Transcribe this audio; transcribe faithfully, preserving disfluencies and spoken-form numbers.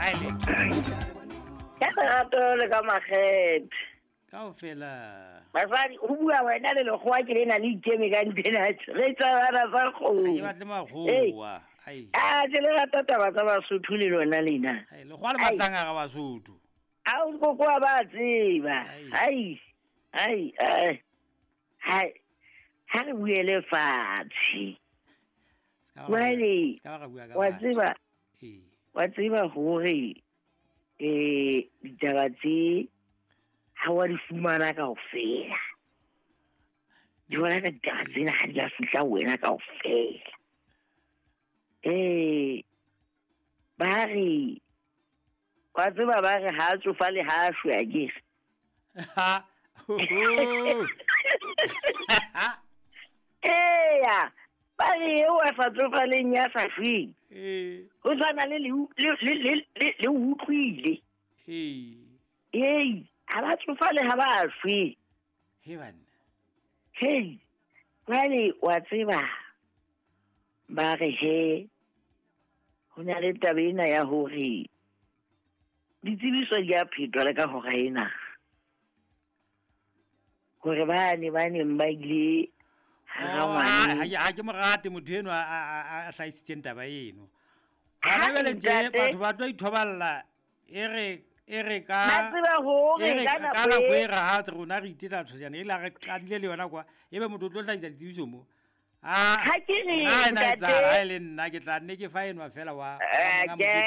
Ai le. Ka lerato le ka makgethe. Kaofela. Basadi, ho bua wena le lekgowa ke lena le ikeme ka nthena. Re tsabana sa Ha ke kgowa. batle makgowa. Ai. Ah, ke le rata taba tsa Basotho le lona lena. Ai, lekgowa le Ai. batlang hara Basotho. A o kokoa ba tseba. Ai. Ai. Ai, ai. Hai. Ha re buele fatshe. Ska ba ra bua- Jwale, ska ba ra bua ka wa batho. tseba, Ee. wa tseba hore eh ditaba tse ha wa di fumana kaofela. Di bona ka ditaba tsena ha di a fihla ho wena kaofela. Eh ba re wa tseba ba re ha a tsofale ha a shwe akere. Ha. Ho, ho. Eya, ba re eo a sa tsofaleng ya sa shweng. Ee. Ho tshwana le le le le le le utlwile. Ee. Ei, ha ba tsofale ha ba shwe. He banna. Hei, jwale wa tseba ba re he ho na le taba ena ya hore ditsebiso di a phetwa le ka hora ena. Hore bane ba neng ba ile hara Oh, ha ngwane. ha ke- ha ke mo rate motho eno a a a- a hlahisitseng taba eno. Ha, Hona jwale tje ntate. batho ba tlo ithoballa e re e re ka Ba tseba hore e re ka ka nako nako e e re ha rona re itetla thojana e la re qadile le yona kwa ebe motho o tlo hlahisa ditsebiso mo. Ah, Ha ke re, ha ena ntate. etsahala, ha e le nna ke tla nne ke fa enwa fela wa wa Eh, monga ke- mokete.